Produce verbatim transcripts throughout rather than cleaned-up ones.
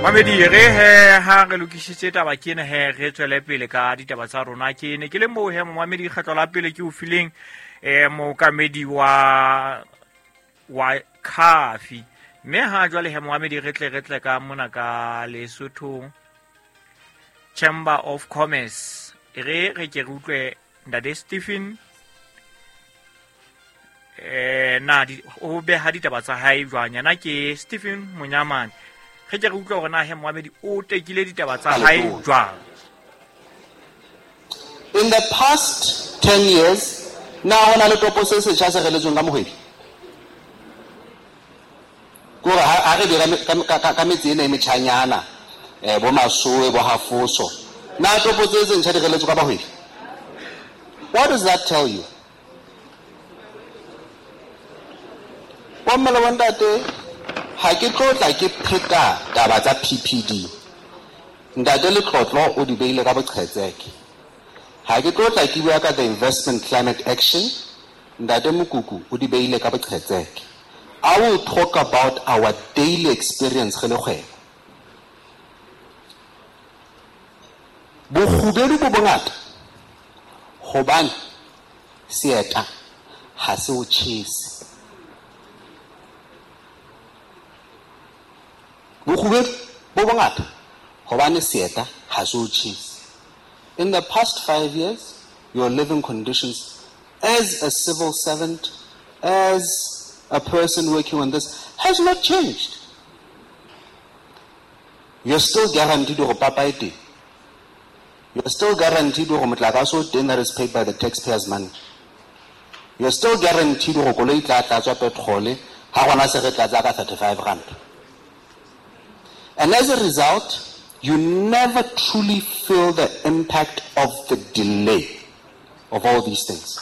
Mamedi re he ha re lokisitse taba ke ena he re tswele pele ka ditaba tsa rona. Ke ne ke le moo he momamedi kgetlo la pele ke o fileng eh mookamedi wa wa Khafi. Mme ha jwale he momamedi re tle re tle ka mona ka Lesotho Chamber of Commerce. Re re ke re utlwe Ntate Stephen eh na di o beha ditaba tsa hae jwang. Yena ke Stephen Monyamane. Re ke re utlwe hore na he momamedi o tekile ditaba tsa hae jwang. In the past ten years, na hona le topo se setjha se reletsweng ka mohwebi? Kore ha re dira ka ka metse ena e metjhanyana, eh bo Masowe, bo Hafoso, na topo tse tse ntjha di reletswe ka bahwebi? What does that tell you? Bomme le bontate, ha ke tlo tla ke pheta taba tsa P P D. Ntate Letlotlo o di beile ka boqhetseke. Ha ke tlo tla ke bua ka the investment climate action, Ntate Mokuku o di beile ka boqhetseke. I will talk about our daily experience re le kgwebo. Bokgubedu bo bongata hobane seeta ha se o tjhese. Bokgubedu bo bongata hobane seeta ha se o tjhese. In the past five years, your living conditions as a civil servant, as a person working on this, has not changed. You're still guaranteed your papa e teng. You're still guaranteed hore motlakase o teng that is paid by the taxpayers' money. You're still guaranteed hore koloi e tla tlatswa petrol ha gona se re tlatsa ka thirty-five rand. And as a result, you never truly feel the impact of the delay of all these things.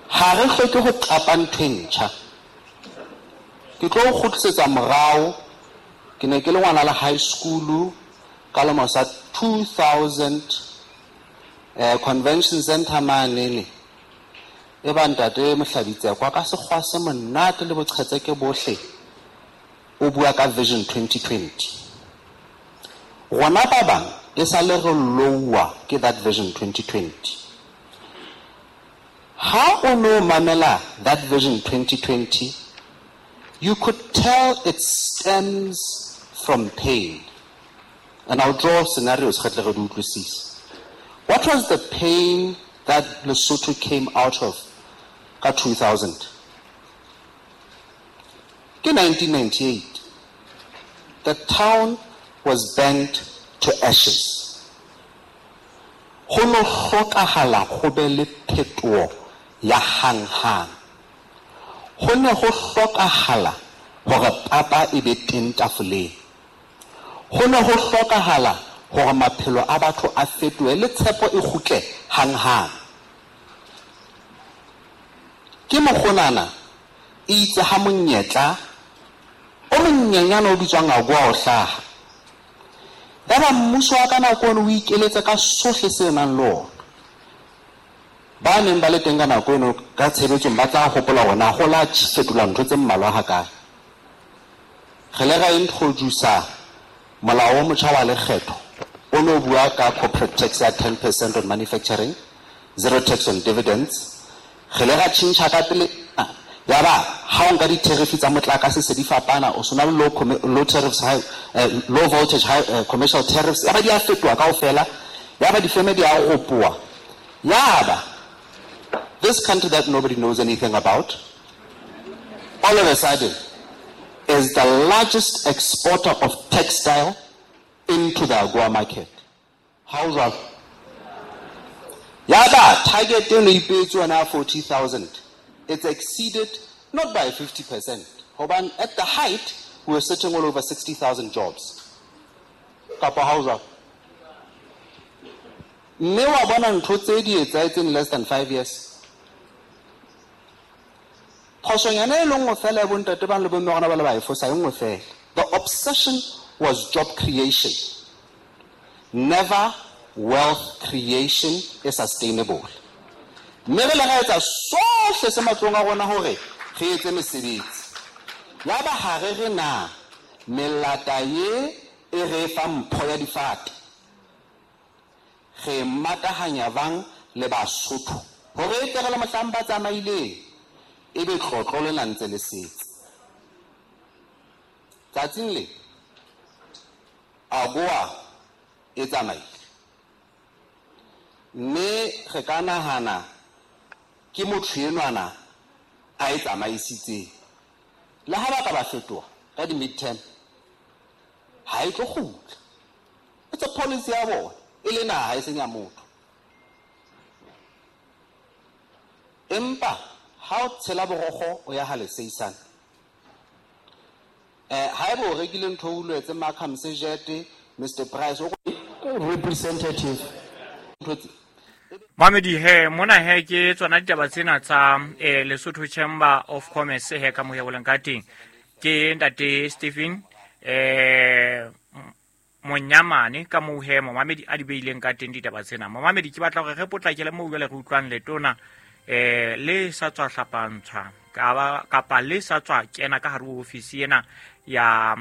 Ha re hloke ho qapa ntho e ntjha. Ke tlo kgutlisetsa morao. Ke ne ke le ngwana la high school ka lemo sa two thousand, eh, convention center manene. E ba ntate Mohlabitse kwa ka sekgwa se monate le boqhetseke bohle o bua ka Vision twenty twenty. Rona ba bang e sa le re lowa ke that Vision twenty twenty. Ha o no mamela that Vision twenty twenty, you could tell it stems from pain. And I'll draw scenarios. What was the pain that Lesotho came out of ka two thousand? Ke nineteen ninety-eight, the town was burnt to ashes. Ho no hlokahala ho be le phetoho ya hang-hang. Ho ne ho hlokahala hore papa e be teng tafoleng. Ho ne ho hlokahala hore maphelo a batho a fetohe le tshepo e kgutle hang-hang. Ke mokgonana e itse ha monyetla o monyenyane o bitswang AGOA o hlaha. Yaba mmuso wa ka nako eno o ikeletsa ka sohle se nang le ona. Ba neng ba le teng ka nako eno ka tshebetsong ba tla hopola hore na ho la fetola ntho tse mmalwa hakae. Re le ra introduce-a molao o motjha wa lekgetho o no bua ka corporate tax ya ten percent on manufacturing, zero tax on dividends. Re le ra tjhentjha ka pele, yaba ha o nka di-tariff tsa motlakase se di fapana, o sona le low, low tariffs, high, uh, low voltage, high, uh, commercial tariffs, yaba di a fetoha kaofela, yaba difeme di a ropoha. Yaba this country that nobody knows anything about, all of a sudden, is the largest exporter of textile into the AGOA market. How's that? Yaba, target eno ipehetswe yona forty thousand. It's exceeded not by fifty percent. Hobane at the height, we were sitting all over sixty thousand jobs. Kapa how's that? Mme wa bona ntho tse di etsahetseng less than five years. Phosonyana e le nngwe fela ya bontate ba le bomme gona ba le ba e fosa e nngwe fela. The obsession was job creation. Never wealth creation is sustainable. Mme re le ra etsa sohle se matlong a rona hore re etse mesebetsi. Yaba ha re re na melata ye e re fa mpho ya difate, re matahanya bang le Basotho hore e tle re le mohlang ba tsamaileng e be tlotlo lena ntse le setse. Tsatsing le AGOA e tsamaile, mme re ka nahana ke motho enwana a e tsamaisitseng. Le ha ba ka ba fetoha ka di-midterm, ha e tlo kgutla. It's a policy ya bona, e le naha e seng ya motho. Empa ha o tshela borokgo o ya ha leseisane, eh haeba o rekile ntho o ulwetse Markham Sejete, Mister Price o representative. Mamedi he mona he ke tsona ditaba tsena tsa eh, Lesotho Chamber of Commerce he ka moya boleng ka teng. Ke ntate Stephen eh Monyamane ka moo he momamedi a di beileng ka teng ditaba tsena. Momamedi ke batla hore re potlakele moo jwale re utlwang letona eh le sa tswa hlapantshwa kapa le sa tswa kena ka hare ho ofisi ena ya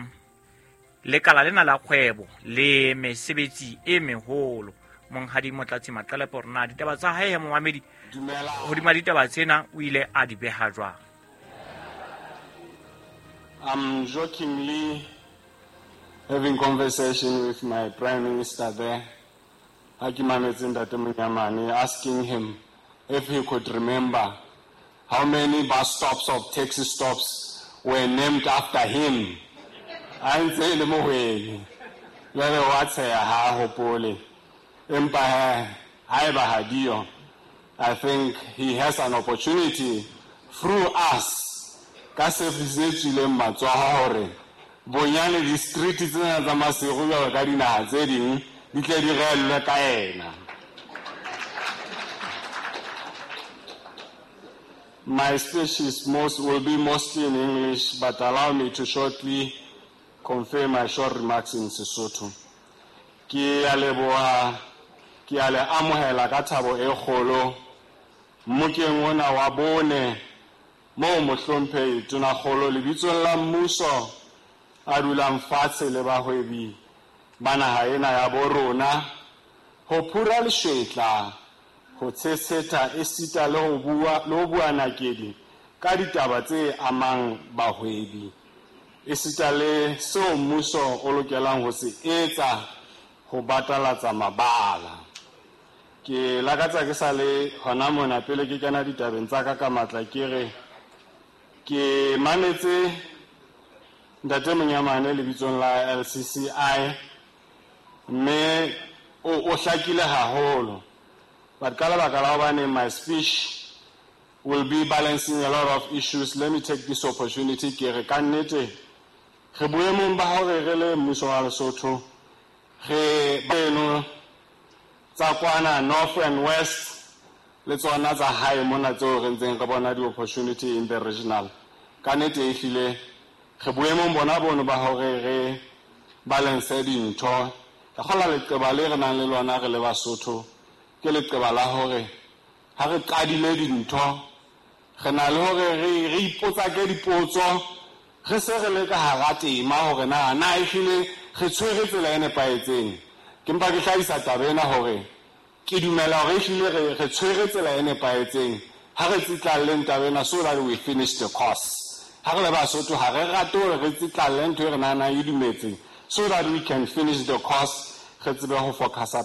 lekala lena la kgwebo le mesebetsi e meholo. Monghadi Motlatsi Maqelepo hore na ditaba tsa hae momamedi hodima ditaba tsena o ile a di beha jwang. I'm jokingly having conversation with my prime minister there, ha ke mametse ntate Monyamane, asking him if he could remember how many bus stops or taxi stops were named after him. A ntse e le mohwebi. Jwale wa tsheha ha hopole. Empa he, haeba ha diyo, I think he has an opportunity through us ka se tswileng matsoho hore bonyane di-street tsena tsa Maseru jwalo ka dinaha tse ding di tle di reellwe ka yena. My speech is most, will be mostly in English, but allow me to shortly convey my short remarks in Sesotho. Ke a leboha, ke a le amohela ka thabo e kgolo mmokeng ona wa bone moo mohlomphehi Tonakgolo lebitsong la mmuso a dulang fatshe le bahwebi ba naha ena ya bo rona ho phura leshwetla, ho tshesetha esita le ho bua le ho bua nakedi ka ditaba tse amang bahwebi esita le seo mmuso o lokelang ho se etsa ho batalatsa mabala. Ke lakatsa ke sa le hona mona pele ke kena ditabeng tsa ka ka matla ke re ke mametse ntate Monyamane lebitsong la L C C I mme o o hlakile haholo. But ka lebaka la hobane my speech will be balancing a lot of issues, let me take this opportunity ke re ka nnete re boemong ba hore re le mmuso wa Lesotho re beno tsa kwana north and west le tsona tsa hae mona tseo re ntseng re bona di-opportunity in the regional. Ka nnete ehlile re boemong bona bono ba hore re balance dintho. Ka kgola leqeba le re nang le lona re le Basotho ke leqeba la hore ha re qadile dintho re na le hore re re ipotsake dipotso re se re le ka hara tema hore na na ehlile re tshwere tsela e nepahetseng. Ke mpa ke hlahisa taba ena hore ke dumela hore ehlile re re tshwere tsela e nepahetseng ha re tsitlalleng taba ena so that we finish the course. Ha re le Basotho ha re rate hore re tsitlalle ntho e re nahanang e dumetseng so that we can finish the course, re tsebe ho focusa